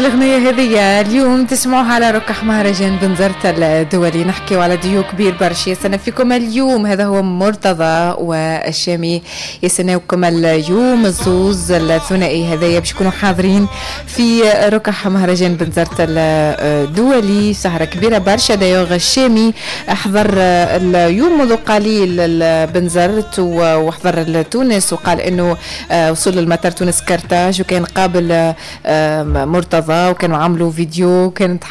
الأغنية هذه اليوم تسمعوها على ركح مهرجان بنزرت الدولي. نحكيو على ديو كبير برشا يستنى فيكم اليوم، هذا هو مرتضى والشامي يستناوكم اليوم الزوز الثنائي هذايا باش يكونوا حاضرين في ركح مهرجان بنزرت الدولي. سهرة كبيرة برشا. d'ailleurs الشامي حضر اليوم منذ قليل بنزرت وحضر لتونس وقال انه وصل للمطار تونس كرتاج وكان قابل مرتضى وكانوا عملوا فيديو، كانت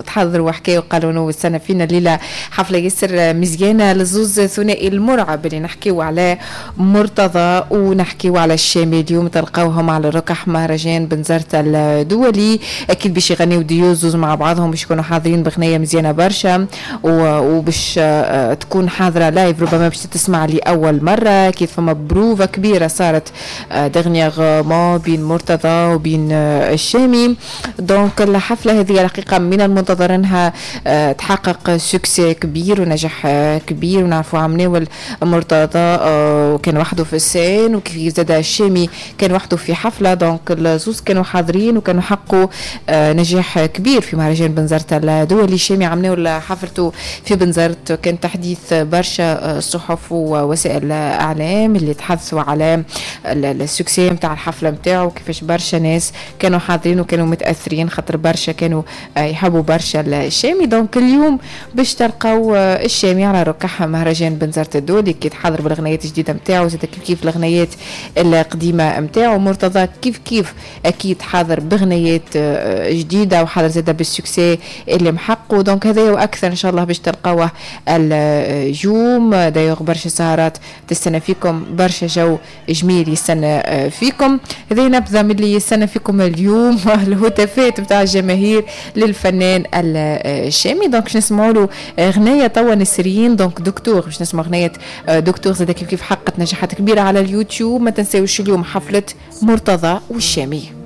تحضر وحكاوا وقالوا انه استنى فينا الليلة حفلة ياسر مزيانه للزوز ثنائي المرعب اللي نحكيو على مرتضى ونحكيو على الشامي. اليوم تلقاوهم على ركح مهرجان بنزرت الدولي، اكيد باش يغنيو ديو زوز مع بعضهم، باش يكونوا حاضرين بغنيه مزيانه برشا وباش تكون حاضره live ربما باش تسمع لاول مرة. اكيد فما بروفا كبيرة صارت dernièrement بين مرتضى وبين الشامي. donc الحفلة هذه الحقيقة من المنتظر انها تحقق succès كبير ونجاح كبير. ونعرفوا عمناول مرتضى وكان وحده في ال scène، وكيف زاد الشامي كان وحده في حفلة. donc الزوز كانوا حاضرين وكانوا حققوا نجاح كبير في مهرجان بنزرت الدولي. الشامي عمناول حفلته في بنزرت كان تحديث برشا صحف ووسائل اعلام اللي تحدثوا على ال succès نتاع الحفلة نتاعو، كيفاش برشا ناس كانوا حاضرين وكانوا متاثرين خاطر برشا كانوا يحبوا برشا الشامي. donc اليوم باش تلقاو الشامي على ركح مهرجان بنزرت الدولي كي تحضر بالغنايات الجديدة نتاعو، زاد كيف كيف الغنايات القديمة نتاعو. مرتضى كيف كيف اكيد حاضر بغنايات جديدة وحاضر زاد بال succès اللي محقه. donc هذا واكثر ان شاء الله باش تلقاوه اليوم. d'ailleurs برشا سهرات تستنى فيكم، برشا جو جميل يستنى فيكم. هذه نبذه من اللي يستنى فيكم اليوم، الهتافات نتاع الجماهير للفنان الشامي. donc باش نسمعوا له غنايه توا نسرين، donc دكتور، باش نسمعوا غنايه دكتور زاد كيف كيف حققت نجاحات كبيرة على اليوتيوب. ما تنساوش اليوم حفلة مرتضى والشامي.